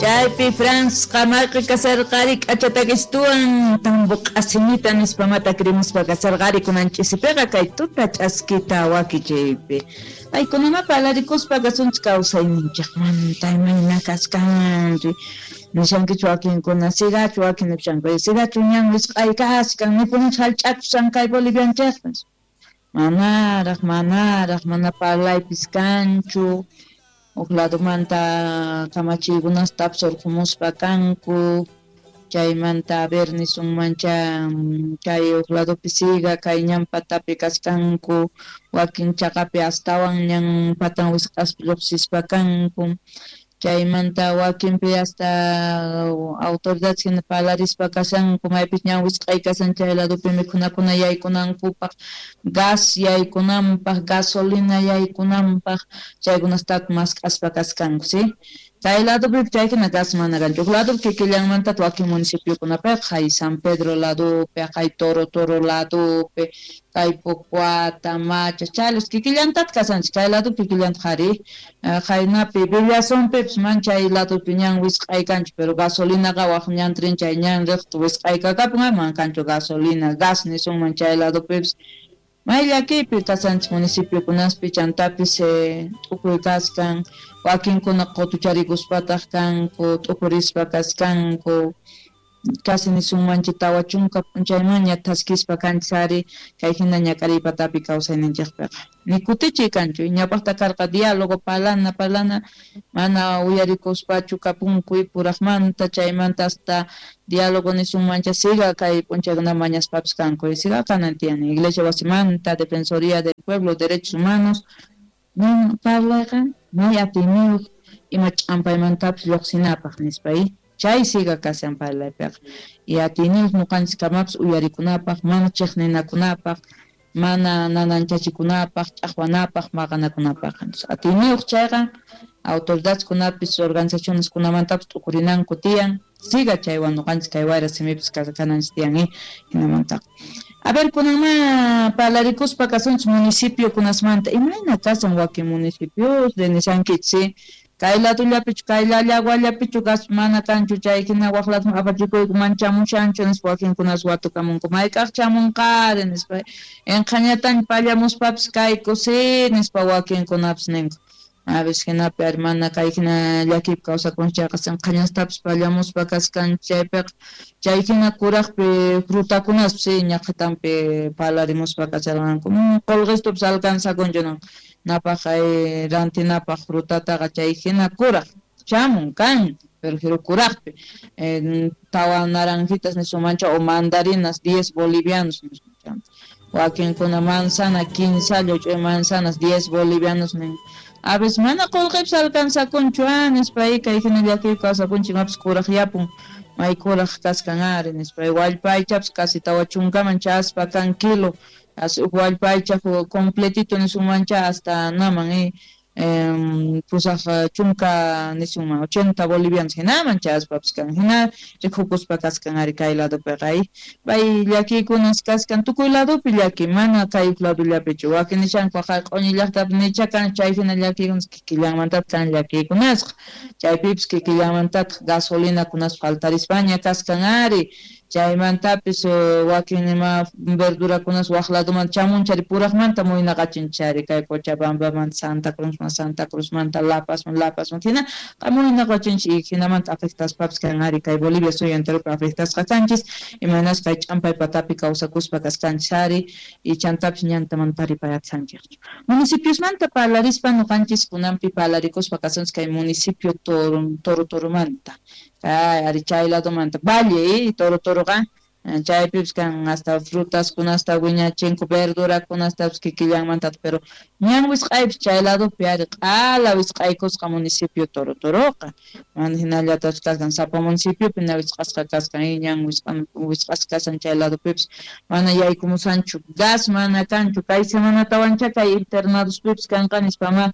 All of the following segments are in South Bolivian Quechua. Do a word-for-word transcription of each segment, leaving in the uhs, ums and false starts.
Chaypi Franz qamarqi kasarqari k'achatakistuwan tambo q'asimita nispa matakrimuspa kasarqari kunan ch'isipiqa kay tuta ch'askita wakichiypi. Paykunama parlarikuspa kasunchik kawsayninchikmanta imayna kaskanri. Nishankichu wakinkuna sigachu wakin nishanku sigachu ñan wisq'ay kaskan nipunich hallch'akusan kay Bolivianchikpas. Manaraq manaraq mana parlaypis kanchu. Huk ladomanta kamachiykunasta surqumuspa kanku chaymanta a ver nisunmancha kay huk ladopi siga kay ñan patapi kaskanku wakin chaqapi astawan ñan patan wisq'aspa lluqsispa kanku chaymanta wakinpi hasta autoridades hina parlarispa kashanku maypis ñan wisq'ay kasan chay ladopi mikhunakuna yaykunankupaq gas yaykunanpaq gasolina yaykunanpaq chaykunastaq mask'aspa kaskanku si kay ladopi chay hina gas mana kanchu huk ladopi kikillanmanta wakin municipiokunapiqa hay San Pedro ladopi hay Toro Toro ladopi kay Pocuata, Macha, chaylos kikillantataq kasanchik kay ladopi kikillantaq ari qaynapi Villazonpipis man chay ladopi ñan wisq'ay kanchu pero gasolinaqa waq ñan trin chay ñan riqta wisq'aykakapun man kanchu gasolina gas nisunman chay ladopipis may llakiypi kasanchik municipiokunaspi chantapis t'ukuy kaskan wakinkuna qutucharikuspataq kanku t'ukurispa kaskanku casi nisunmanchik tawa chunka p'unchaymanña thaskispa kanchis ari kay hina ñak'ariy patapi kawsayninchikpiqa nikutichiy kanchu ñawpaqta karqa diálogo parlana parlana mana uyarikuspachu kapunku puraqmanta chaymanta hasta diálogo nisunmancha siga kay p'unchaykuna mañaspapis kanku siga kanan tiyan iglesia wasimanta defensoría del pueblo derechos humanos ñan parlayqa may atiyniyuq ima ch'ampaymantapis lluqsinapaq nispa chay siga kasan parlaypiqa y atiyniyuq ñuqanchik kamapis uyarikunapaq mana chiqninakunapaq mana nananchachikunapaq ch'aqwanapaq maqanakunapaq atiyniyuq chayqa autoridadkunapis organizacioneskunamantapis t'ukurinanku tiyan siga chaywan ñuqanchik kay wayra simipis kananchik tiyan hinamantaqa. A ver, kunanma parlarikuspa kasunchik municipiokunasmanta imayna kasan wakin municipios de nishankichik si kay ladollapichu kay llallawallapichu gas mana kanchu chay hina waq ladoman apachikuyku manchamushanchu nispa wakinkunas watukamunku mayk'aq chamunqari nispa inqhañataña pallamuspapis kayku si nispa wakinkunapis ninku a veces hinapi ari mana kay hina llakiypi kawsakunchik chayqa sinqhañastapis pallamuspa kaskanchik chaypiqa chay hina kuraqpi frutakunaspis si ñaqhatanpi parlarimuspa kacharqanku qulqistupis alcanzakunchu napaq rantinapaq frutataqa chay hina kuraq chamun kan pero jiru kuraqpi tawa naranjitas nisunmancha o mandarinas diez bolivianos wakinkuna manzana quince ch'uy manzanas diez bolivianos nin a veces mana qulqipis alcanzakunchu ah nispa kay hina llakiypi kawsakunchik imapis kuraq yapun may kuraq kaskan ari nispa wallpa aychapis casi tawa chunkaman chaspa kan kilo as huk wallpa aycha completito nisunmancha hasta naman eh pusaq chunka nisunman ochenta bolivianos hinaman chaspapis kan hina rikukuspa kaskan ari kay ladopiqa pay llakiykunas kaskan tukuy ladopi llaki mana kay huk ladollapichu wakin nishanku q'uñi llaqtapi nicha kan chay hina llakiykunas kikillanmantataq kan llakiykunasqa chaypipis kikillanmantataq gasolinakunas faltarispaña kaskan ari chaymantapis wakin ima verdurakunas waq ladoman chamunchari puraqmanta muynaqachinchari kay Cochabambamanta Santa Cruzman Santa Cruzmanta La Pazman La Pazmanta hina muynaqachinchik hinamanta afectaspapis kan ari kay Bolivia suyu enteropi afectasqa kanchis imaynas kay ch'ampay patapi kawsakuspa kaskanchis ari y chantapis ñanta mana taripayatsanchikchu municipiosmanta parlarispa ñuqanchis kunanpi parlarikuspa kasunchik kay municipio Toro Toro Toromanta kay ari chay ladomanta Valle Toro Toroqa chaypipis kan hasta frutas kunasta wiñachinku verdurakunastapis kikillanmantaq pero ñan wisq'aypis chay ladopi ari q'ala wisq'aykusqa municipio Toro Toroqa mana hinallatapis kaskan sapa municipiopi na wisq'asqa kaskan ñan wisq'asqa kasan chay ladopipis mana yaykumusanchu gas mana kanchu kay semanatawancha kay internadospipis kanqa nispama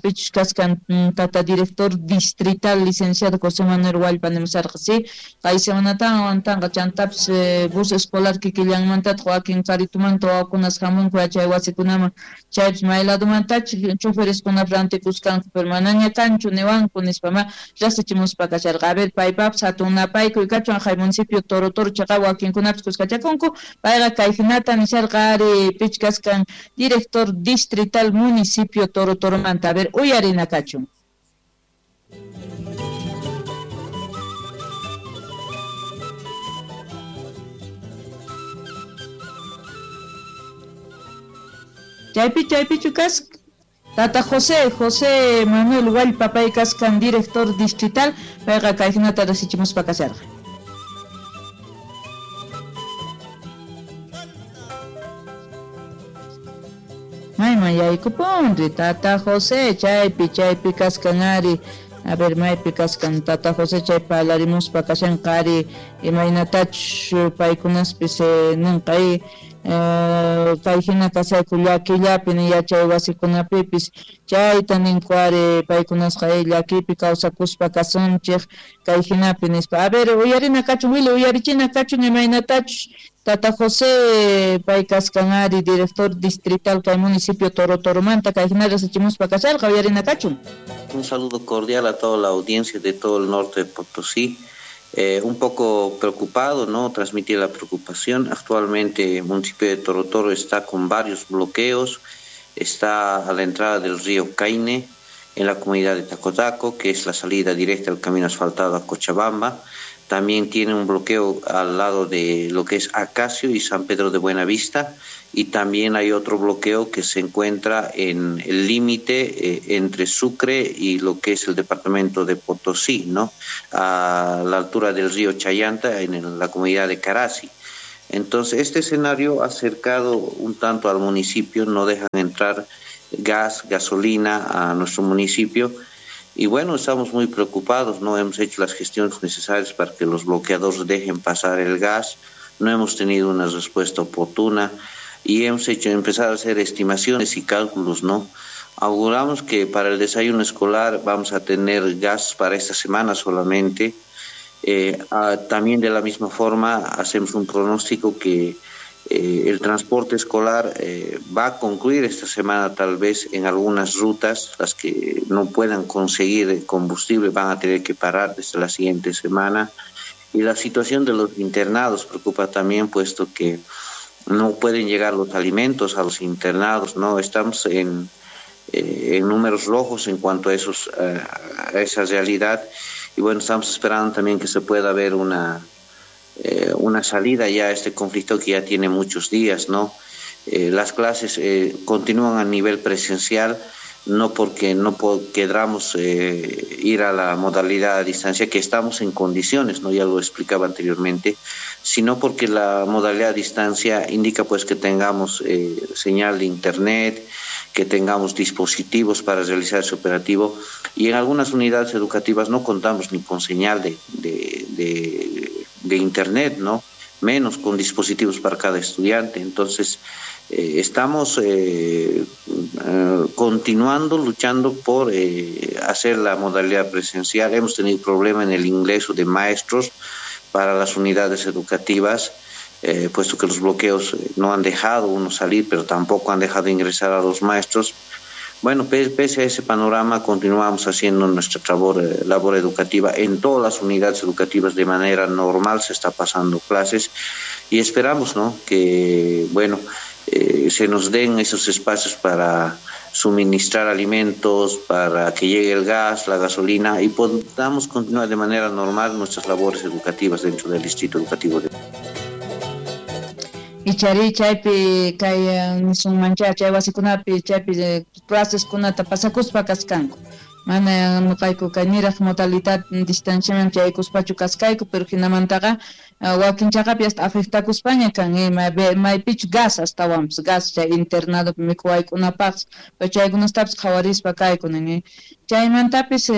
pichus kaskan tata director distrital licenciado José Manuel Huallpa nimusarqa si kay semanatawan tanqa chantapis Chaypis bus escolar kikillanmantataq wakin karitumanta wawakunas hamunku yachay wasikunaman, chaypis may ladumantach chofereskunap rantikuskanku, pero manaña kanchu niwanku nispama riqsichimuspa kasharqa. A ver, paypapas hatun napaykuy kachun hay municipio Toro Toro chaqa wakinkunapis kuskachakunku, payqa kay hinata nisharqa ari pichkaskan director distrital municipio Toro Toromanta. A ver, uyarina kachun. Chaypi chaypichu kasqa Tata José, José Manuel Huallpa pay kaskan director distrital, payqa kay hinata riqsichimuspa kasharqa. Mayman yaykupunri Tata José, chaypi chaypi kaskan ari. A ver, maypi kaskan Tata José chay parlarimuspa kashanqa ari imaynatachus paykunaspis ninqa kay hina kasayku llakillapi ni yachay wasikunapipis chayta ninku ari paykunasqa llakipi kawsakuspa kasunchik kay hinapi nispa. A ver, uyarina kachun Willy, uyarichina kachun imaynatachus Tata José pay kaskan ari director distrital kay municipio Toro Toromanta kay hina riqsichimuspa kasharqa, uyarina kachun. Un saludo cordial a toda la audiencia de todo el norte de Potosí. Eh, un poco preocupado, ¿no? Transmitir la preocupación. Actualmente el municipio de Toro Toro está con varios bloqueos. Está a la entrada del río Caine, en la comunidad de Tacotaco, que es la salida directa al camino asfaltado a Cochabamba. También tiene un bloqueo al lado de lo que es Acacio y San Pedro de Buenavista. Y también hay otro bloqueo que se encuentra en el límite eh, entre Sucre y lo que es el departamento de Potosí, ¿no? A la altura del río Chayanta, en el, la comunidad de Carasi. Entonces, este escenario ha acercado un tanto al municipio, no dejan entrar gas, gasolina a nuestro municipio. Y bueno, estamos muy preocupados, no hemos hecho las gestiones necesarias para que los bloqueadores dejen pasar el gas, no hemos tenido una respuesta oportuna y hemos hecho empezar a hacer estimaciones y cálculos, ¿no? Auguramos que para el desayuno escolar vamos a tener gas para esta semana solamente. Eh, a, también de la misma forma hacemos un pronóstico que eh, el transporte escolar eh, va a concluir esta semana tal vez en algunas rutas, las que no puedan conseguir combustible van a tener que parar desde la siguiente semana. Y la situación de los internados preocupa también, puesto que no pueden llegar los alimentos a los internados, ¿no? Estamos en, eh, en números rojos en cuanto a, esos, eh, a esa realidad. Y bueno, estamos esperando también que se pueda ver una, eh, una salida ya a este conflicto que ya tiene muchos días, ¿no? Eh, las clases eh, continúan a nivel presencial, no porque no queramos eh, ir a la modalidad a distancia, que estamos en condiciones, ¿no? Ya lo explicaba anteriormente, sino porque la modalidad a distancia indica pues que tengamos eh, señal de internet, que tengamos dispositivos para realizar ese operativo, y en algunas unidades educativas no contamos ni con señal de, de, de, de internet, ¿no? Menos con dispositivos para cada estudiante. Entonces, eh, estamos eh, eh, continuando luchando por eh, hacer la modalidad presencial. Hemos tenido problema en el ingreso de maestros para las unidades educativas, eh, puesto que los bloqueos no han dejado uno salir, pero tampoco han dejado ingresar a los maestros. Bueno, pese a ese panorama, continuamos haciendo nuestra labor, labor educativa en todas las unidades educativas de manera normal, se está pasando clases y esperamos, ¿no?, que, bueno, eh, se nos den esos espacios para suministrar alimentos, para que llegue el gas, la gasolina y podamos continuar de manera normal nuestras labores educativas dentro del Distrito Educativo de... Ichari chaypi kay nisunmancha chay wasikunapi chaypi claseskunata pasakuspa kaskanku. Mana nuqayku kay niraq modalidad distanciaman chaykuspachu kaskayku, pero hinamantaqa wakin chaqapi hasta afectakuspaña kan maypichu gas astawanpas gas chay internadopi mikhuwaykunapaqpas, pero chaykunastapis qhawarispa kayku nin. Chaymantapis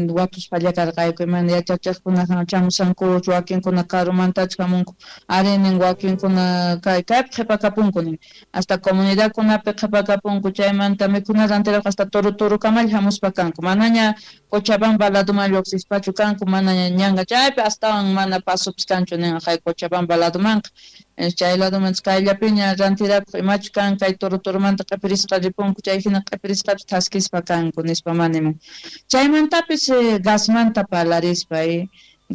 watuspalla karqayku imana yachachiqkuna chamusankuchu, wakinkuna karumantachu hamunku, arinin wakinkuna kay kaypi qhipakapunku nin, hasta comunidadkunapi qhipakapunku, chaymanta mikhuna rantiraq hasta Toro Torokamalla hamuspa kanku, manaña Cochabamba laduman lluqsispachu kanku, manaña ñanqa chaypi astawan mana pasupis kanchu. nin jay Cochabamba ladumanqa chay laduman kayllapiña rantirakuq imachu kan kay Toro Toromanta q'ipirisqa ripunku chay hina q'ipirisqapis thaskispa kanku nispa manimun chaymantapis gasmanta parlarispa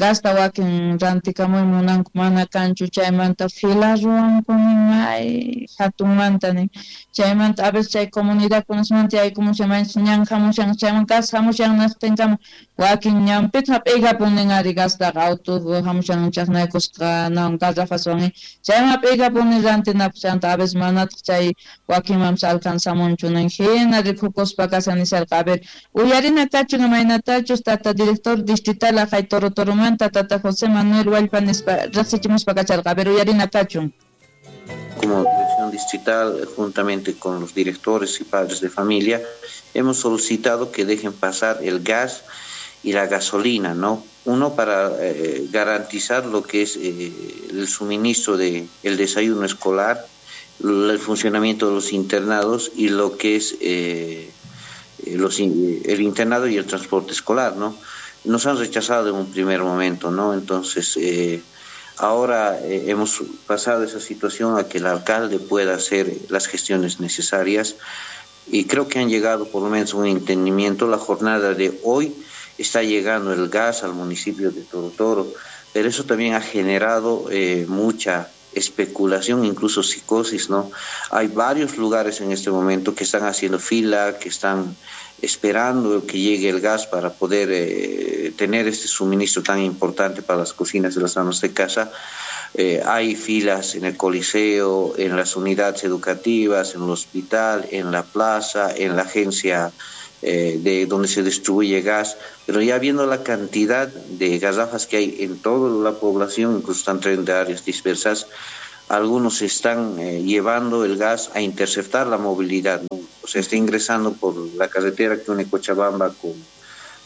gasta wakin rantikamuy munanku mana kanchu chaymanta fila ruwanku nin may hatunmanta nin chaymanta a veces chay comunidadkunasmanta yaykumushan maychus ñan hamushan chayman gas hamushan naqtinkama wakin ñanpita hap'ikapun nin ari gastaqa auto hamushan chaqnaykusqa nawan garrafaswan chayman hap'ikapun nin rantinapaq chayanta a veces manataq chay wakinmanpis alcanzamunchu nin hina rikukuspa kashan nisharqa a ver uyarina kachun imaynatachus tata director distrital aqhay Toro Toro Tata José Manuel Huallpa nispa riqsichimuspa kacharqa a ver uyarina kachun. Como dirección distrital, juntamente con los directores y padres de familia, hemos solicitado que dejen pasar el gas y la gasolina, ¿no? Uno para eh, garantizar lo que es eh, el suministro de el desayuno escolar, el funcionamiento de los internados y lo que es eh, los, el internado y el transporte escolar, ¿no? Nos han rechazado en un primer momento, ¿no? Entonces, eh, ahora eh, hemos pasado esa situación a que el alcalde pueda hacer las gestiones necesarias y creo que han llegado por lo menos a un entendimiento. La jornada de hoy está llegando el gas al municipio de Toro Toro, pero eso también ha generado eh, mucha especulación, incluso psicosis, ¿no? Hay varios lugares en este momento que están haciendo fila, que están esperando que llegue el gas para poder eh, tener este suministro tan importante para las cocinas de las amas de casa. Eh, hay filas en el Coliseo, en las unidades educativas, en el hospital, en la plaza, en la agencia eh, de donde se distribuye gas, pero ya viendo la cantidad de garrafas que hay en toda la población, incluso están trayendo de áreas dispersas, algunos están eh, llevando el gas a interceptar la movilidad, ¿no? O sea, está ingresando por la carretera que une Cochabamba con,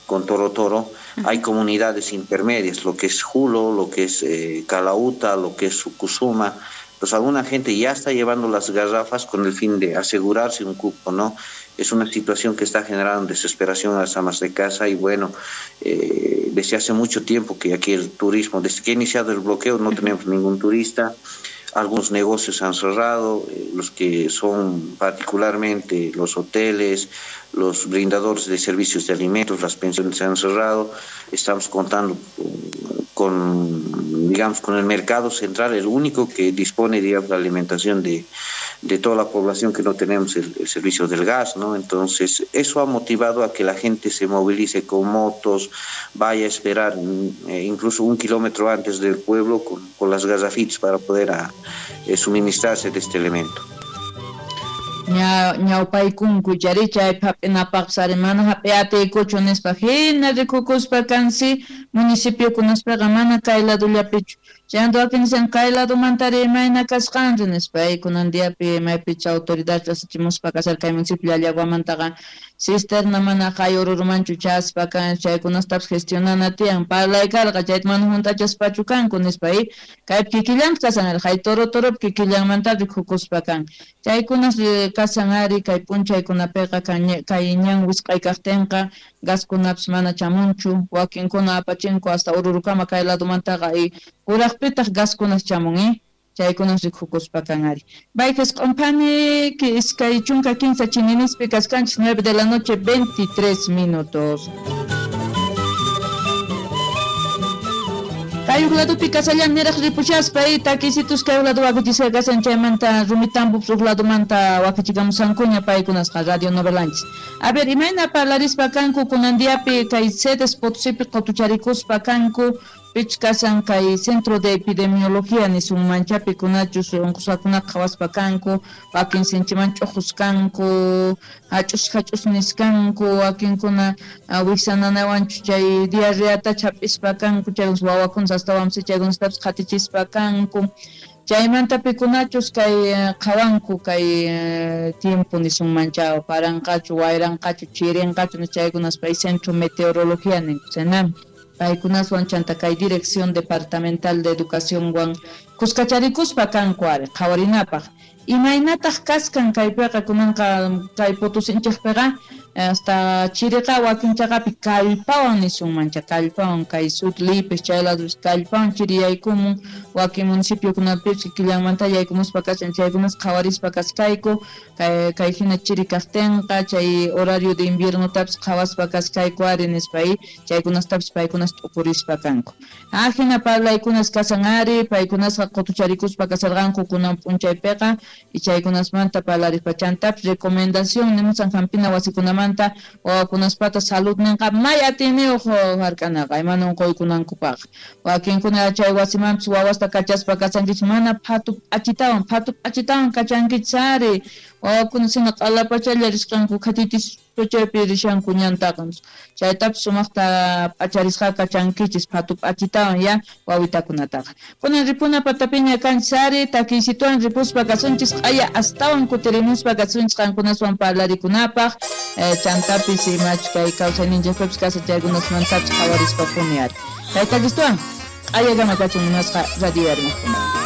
con Toro Toro. Hay comunidades intermedias, lo que es Julo, lo que es eh, Calauta, lo que es Sucusuma. Pues alguna gente ya está llevando las garrafas con el fin de asegurarse un cupo, ¿no? Es una situación que está generando desesperación a las amas de casa y bueno, eh, desde hace mucho tiempo que aquí el turismo, desde que ha iniciado el bloqueo no tenemos ningún turista. Algunos negocios han cerrado, eh, los que son particularmente los hoteles, los brindadores de servicios de alimentos, las pensiones se han cerrado. Estamos contando con, digamos, con el mercado central, el único que dispone, digamos, de alimentación de, de toda la población, que no tenemos el, el servicio del gas, ¿no? Entonces, eso ha motivado a que la gente se movilice con motos, vaya a esperar eh, incluso un kilómetro antes del pueblo con, con las garrafitas para poder a, eh, suministrarse de este elemento. Ña ñawpaykunku chari chay hap'inapaqsari mana hap'iyatiykuchu nispa hina rikukuspa kansi municipiokunaspaqa mana kay ladullapichu chayanta wakin nisan kay ladumantari imayna kasqanri nispa kunan diapi maypicha autoridad rasichimuspa kasar kay municipio Llallaguamantaqa cisterna mana hay ururumanchu chaspa kan chaykunastapis gestionana tiyan parlaykarqa chayta mana hunt'achaspachu kanku nispa kaypi kikillanta kasan hay Toro Toropi kikillanmanta rikukuspa kan chaykunas kasan ari kay p'unchaykunapiqa kay ñan wisq'ay kaqtinqa gaskunapis mana chamunchu wakinkuna apachinku hasta ururukama kay ladumantaqa y kuraqpitaq gaskunas chamun eh chaykunas rikukuspa kan ari baykas q'umpani iskay chunka kinsa chininispi kaskanchis nueve de la noche veintitrés minutos. Kay huk ladupi kasallan niraq ripushaspa y takisitus kay huk ladu wakichisqa kasan chaymanta Rumitambo huk ladumanta wakichikamusankuña paykunasqa radio novelanchis. A ver, imayna parlarispa kanku kunan diapi kay sedes Potosipi qutucharikuspa kanku pich kasan kay centro de epidemiología nisunmanchapi kunachus unqusqakunaqa qhawaspa kanku wakin sinchiman ch'uqus kanku hach'us hach'us niskanku wakinkuna wiksananawanchu chay diarreata chap'ispa kanku chay wawakunas astawanpis chaykunastapis qhatichispa kanku chaymanta pikunachus kay qhawanku kay tiempo nisunmanchaw paranqachu wayranqachu chirinqachu chaykunas pay centro meteorología ninku Senam paykunaswan chanta kay dirección departamental de educación wan kuskacharikuspa kanku ari qhawarinapaq imaynataq kaskan kaypiqa kunanqa kay Potosinchikpiqa Hasta chiriqa wakin chaqapi kallpawan nisunmancha kallpawan kay sur Lipes chay ladus kallpawan chiri yaykumun wakin municipiokunapipis kikillanmanta yaykumuspa kashan chaykunas qhawarispa kaskayku kay kay hina chiri kaqtinqa chay horario de inviernotapis qhawaspa kaskayku ari nispa chaykunastapis paykunas t'ukurispa kanku. Ah hina parlaykunas kasan ari paykunasqa qutucharikuspa kasarqanku kunan p'unchaypiqa y chaykunasmanta parlarispa chantapis recomendación nimusan hampina wasikunamanta wawakunaspata salud ninqa may atiyniyuq hark'anaqa imana unquykunankupaq wakinkuna chay wasimanpis wawasta kachaspa kachankichis mana phatu p'achitawan phatu p'achitawan kachankichis ari wawakuna sina q'alapachalla risqanku khatitis chaypi rishanku ñantaqa chaytapis sumaqta p'acharisqa kachankichis phatu p'achitawan ya wawitakunataqa kunan ripuna patapiña kanchis ari takiysituwan ripuspa kasunchis q'aya astawan kutirimuspa kasunchis qankunaswan parlarikunapaq chantapis imachus kay kawsayninchikpipis kasa chaykunasmantapis qhawarispa puni ari kay takistuwan q'ayakama kachun munasqa radio yarmaqkuna.